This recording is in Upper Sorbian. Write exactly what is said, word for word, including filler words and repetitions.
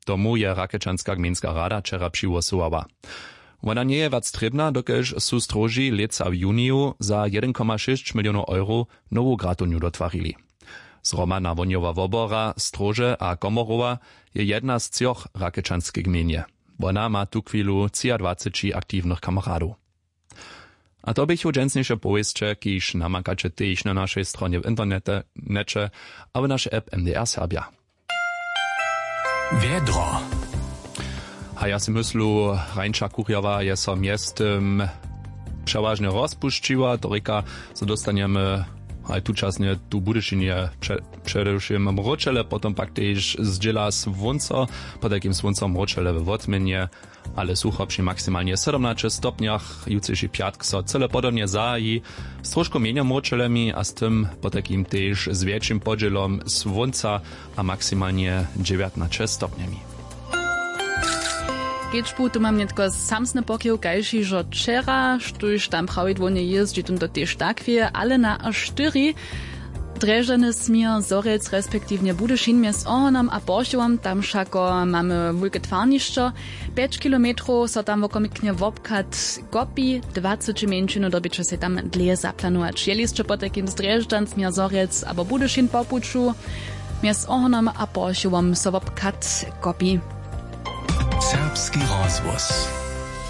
Tomu je rakečanska gmejnska rada wčera přihłosowała. Wona njeje wjac trěbna, dokelž su stróži lětsa w juniju za jedyn koma šěsć milionow euro nowu gratownju dotwarili. Zhromadna wohnjowa wobora stróže a komorowa je jedna z třoch w rakečanskej gmejnje. Wona ma tuchwilu třiadwaceći aktiwnych kameradow. A to běchu dźensniše powěsće, kiž namakaće tež na našej stronje w internete, njeće, a w našej app mdr serbja. Wjedro. A ja sej myslu, hrańša kurjawa je so mjeztym přewažnje rozpušćiła, to rěka, zo dóstanjemy haj tučasnje tu w budyšinje předewšěm mróčele, potom pak tež zdźěla słónco, pod takim słóncom mróčele we wotměnje, ale sucho při maksimalnje sydomnaće stopnjach. Jutřiši pjatk so cyle podobnje zahaji, z trošku mjenjo mróčelemi a z tym potajkim tež z wjetšim podźělom słónca a maksimalnje dźewjatnaće stopnjemi. Kedźbu tu mam nětko samsny pokiw kaž hižo wčera, štóž tam prawidłownje jězdźi tón to tež tak wěje, ale na štyri drježdźany směr zhorjelc respektiwnje budyšin mjez ohonom a porchowom, tam wšako mamy wulke twarnišćo. Pjeć kilometrow so tam wokomiknje wobchad kopi, dwaceći mjeńšinu dyrbiće sej tam dlěje zaplanować jeli sće potajkim zdrježdźan směr zhorjelc abo budyšin po puću, mjez ohonom a porchowom so wobchad kopi. Serbski rozhłos.